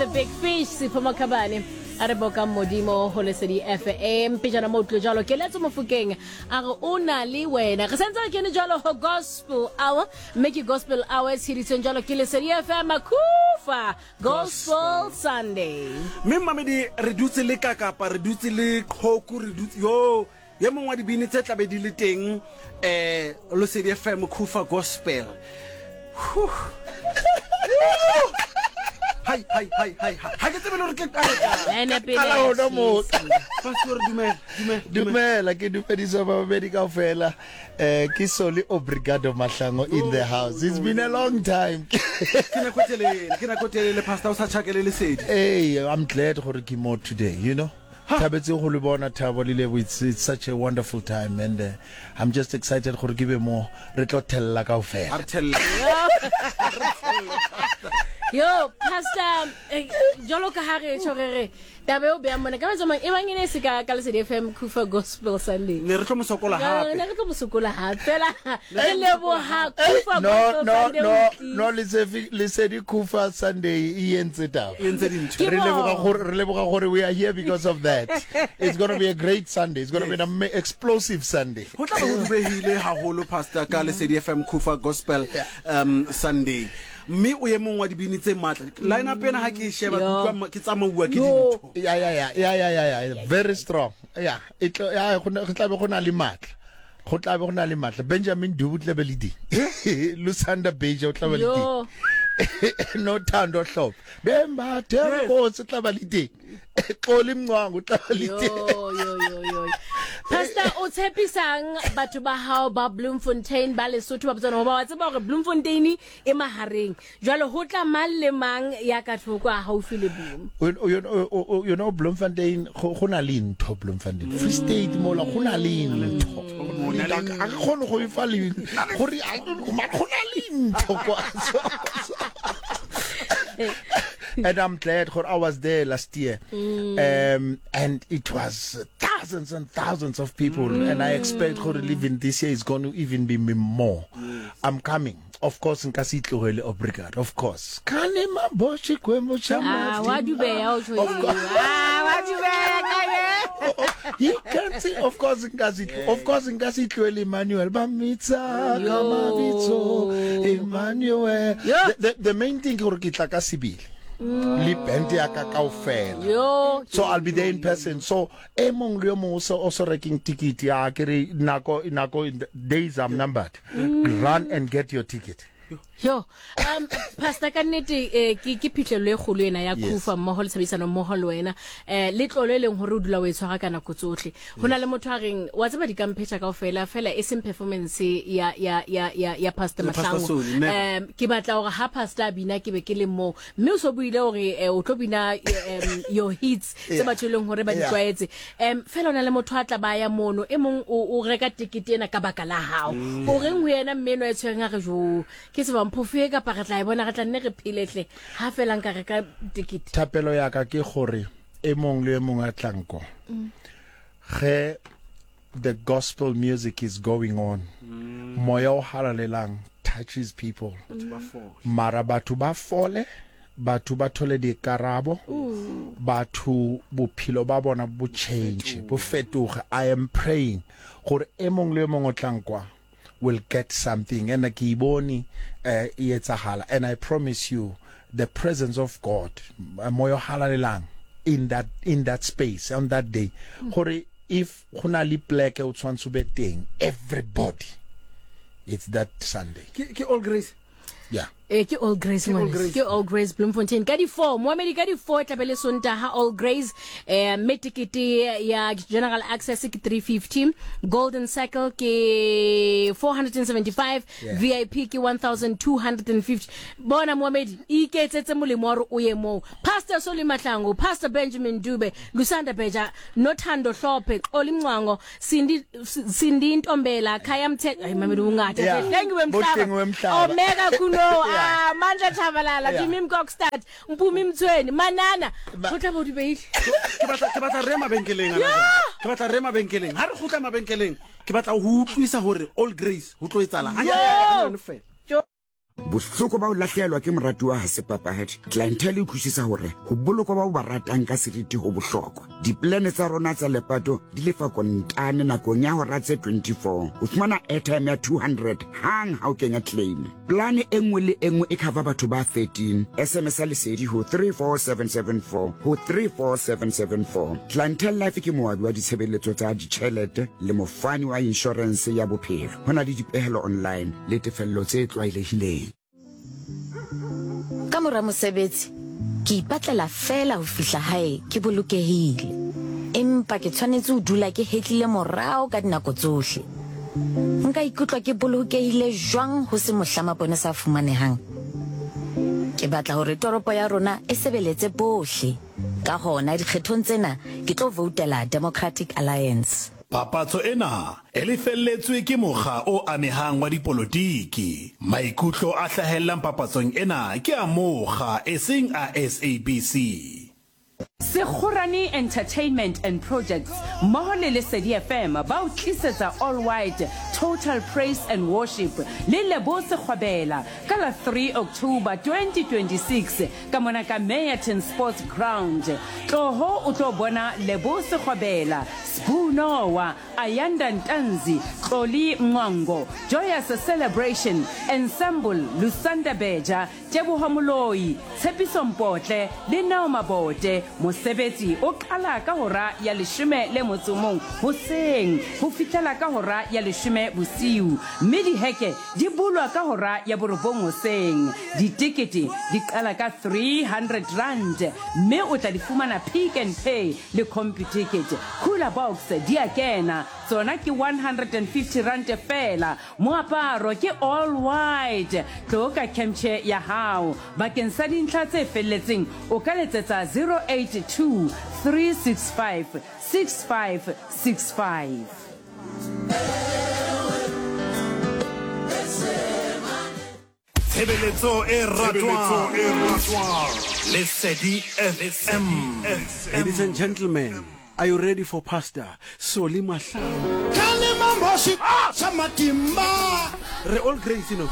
the Big Fish Sipho Makhabane a re bokang modimo go lesedi FM pejana mo utlwe jalo keletso mofokeng a re o na le wena re sentse re kene jalo go gospel hour mme ke gospel hour e tsheditsweng jalo ke lesedi FM Makufa Gospel Sunday mme mmamedi re dutse le kakapa re dutse le qhoku re dutse yo ye mongwe wa dibini tse tlabe di le teng um losedi fm khufa gospel Whew. Hai, hai, hai, hai, hai. Ga ke tsebe le gore ke qale kae. Ene pele Qala ya hona moo. tjhesa. Pastor, dumela, dumela, dumela. Dumela, ke dumedisa babamedi kaofela. Eh ke Soli Obrigado Mahlango in the house. It's been a long time. Ke nako e telele, ke nako e telele pastor o sa tjhakele lesedi. Hey, I'm glad gore ke mo today, you know. Thabetse go le bona Thabo le Lebo. It's such a wonderful time and I'm just excited gore ke be mo re tlo thella A kaofela. re thelle. Yo, Pastor, jwalo ka ha re tjho re re taba eo beang mona ka metsamong e bang e ne e se ka ka Lesedi FM Kufa Gospel Sunday. Ne re tlo mo sokola Ne hape. re tlo mo sokola hape. Fela re leboha Kufa No Gospel no Sunday no o tlile. no Lesefi Lesedi Kufa Sunday e entse taba. E entse dintho. Ke Re leboga bona. gore re leboga gore we are here because of that. It's going to be a great Sunday. It's going to be an explosive Sunday. Ho tla be ho dubehile haholo pastor ka Lesedi FM Kufa Gospel Sunday. Mme o ye mong wa dibini tse matla. Line up ena ha ke e sheba ke Yo. utlwa ke tsamauwa ke Yo. dintho. Ya ya ya ya ya ya ya very strong. Ya e tlo ya go ne- go tla be go na le matla. Go tla be go na le matla. Benjamin Dube o tla be le teng. Lusanda Beja o tla be le teng. Yo. No Thando Hlophe. Bembathe Nkosi o tla ba le teng. Xoli Mncwango o tla ba le Yo, teng. yo, yo, yo. Pastor, o tshepisang batho ba hao ba Bloemfontein, ba Lesotho, ba Botswana, hoba wa tseba hore Bloemfontein e mahareng. Jwale ho tla mang le mang ya ka thoko a haufi le Bloem. You know Bloemfontein go go na le ntho Bloemfontein. Free State mola go na le ntho. A ke kgone go e fa le gore go na le ntho kwa. And I'm glad gore I was there last year. And it was thousands and thousands of people and I expect gore even this year is going to even be more. I'm coming. Of course nka se itlogele obrigado. Of course. Kane maboshi kwembo cha Ah, wa dubeya o tjho. Ah, wa dubeya ka ye. You can't see of course nka se of course nka se itlogele Emmanuel ba mmitsa ka mabitso Emmanuel. Yo. The main thing ke gore ke tla ka sebele. Le band ya ka kaofela. Yo. So I'll be there in person. So e mong le yo mong o so o so rekeng ticket ya ke re nako nako days I'm numbered. Run and get your ticket. Yo, Pastor ka nnete ke ke phihlello e kgolo ena ya Yes. Kufa mmoho le tshebedisano mmoho le wena. Le tlolo e leng hore o dula o e tshwara ka nako tsohle. Ho na le motho a reng wa tseba di ka mphetha kaofela fela e seng performance ya ya ya ya ya Pastor Ya Pastor Mahlangu. Soli, never. Ke batla hore ha Pastor a bina ke be ke le moo. Mme o so buile hore o tlo bina your hits tse Yeah. batho e leng hore ba di Yeah. tlwaetse. Fela ho na le motho a tla ba ya mono e mong o reka tekete ena ka baka la hao. O reng ho yena mme enwa e tshwereng a re jo ke tseba mphofu e kapa re tla e bona re tla nne re phelehle ha fela nka reka tekete. Thapelo ya ka ke gore e mong le e mong a tlang ko. Ge the gospel music is going on, moya o halalelang touches people. Mara batho ba fole, batho ba thole dikarabo, batho bophelo ba bona bo change, bo fetoge. I am praying gore e mong le e mong o tlang kwa will get something and ke ibone e etsahala, and I promise you the presence of God, moya o halalelang in that space on that day, gore if go na le pleke o tshwantse o be teng, everybody, it's that Sunday. Ke All Grace. Yeah. Ke All Grace, Ke All ngwaneso. Grace. Ke All Grace Bloemfontein. Ka di 4, moamedi ka di 4 tla be le Sontaha All Grace. Mme tekete ya General Access ke 350, Golden Circle ke 475, Yeah. VIP ke 1250. Bona moamedi, iketsetse molemo wa hore o ye moo. Pastor Soli Mahlangu, Pastor Benjamin Dube, Lusanda Beja, Nothando Hlophe, Xoli Mncwango, Cindy Ntombela, Khaya Mthetho. Ay mamedi o ngata. Yeah. Hlengiwe Mhlaba. Bohlengiwe Mhlaba. Omega Kuno. Yeah. Mandla Tshabalala, Yeah. Jimmy Mkokstad, Mpumi Mtsweni, Manana. Ho tla bo di beile. Ke batla re mabenkeleng ana jwale. Ke batla re mabenkeleng. Ha re kgutla mabenkeleng, ke batla ho utlwisa hore All Grace ho tlo etsahala. Ha Yo. nyane fela. Yo. Bohloko ba ho lahlehelwa ke moratuwa ha se papadi. Clientele e utlwisisa hore ho bolokwa ba o ba ratang ka seriti ho bohlokwa. Dipolane tsa rona tsa lepato di lefa kontane nakong ya hora tse 24. O fumana airtime ya 200 hang ha o kenya claim. Polane e nngwe le e nngwe e cover batho ba 13. SMS-a Lesedi ho 34774 ho 34774. Clientele Life ke moabi wa ditshebeletso tsa ditjhelete le mofani wa inshorense ya bophelo. Ho na le dipehelo online le tefello tse tlwaelehileng. Ka mora mosebetsi, ke ipatlela feela ho fihla hae ke bolokehile. Empa ke tshwanetse ho dula ke hetlile morao ka dinako tsohle. Nka ikutlwa ke bolokehile jwang ho se mohla maponesa a fumanehang? Ke batla hore toropo ya rona e sebeletse bohle. Ka hona dikgethong tsena ke tlo voutela Democratic Alliance. Papatso ena e lefelletswe ke mokga o amehang wa dipolotiki. Maikutlo a hlahellang papatsong ena ke a mokga eseng a SABC. Sekgorane Entertainment and Projects mmoho le Lesedi FM ba o tlisetsa All White Total Praise and Worship le Lebo Sekgwabela ka la 3 October 2026 ka mona ka Meyerton Sports Ground. Tloho o tlo bona Lebo Sekgwabela, Sbu Noah, Ayanda Ntanzi, Xoli Mncwango, Joyous Celebration, Ensemble, Lusanda Beja, Teboho Moloi, Tshepiso Mpotle le Neo Mabote. Mosebetsi o qala ka hora ya leshome le motso mong hoseng ho fihlela ka hora ya leshome bosiu mme diheke di bulwa ka hora ya borobong hoseng. Ditekete di qala ka R300 mme o tla di fumana Pick n Pay le Computicket. Cooler box di a kena, tsona ke R150 feela. Moaparo ke all white. Tlo ka camchair ya hao. Bakeng sa dintlha tse felletseng o ka letsetsa 082 365 6565. Tshebeletso e ratwang Lesedi FM. Ladies and gentlemen, are you ready for Pastor Solly Mahlangu? Re all grace, you know.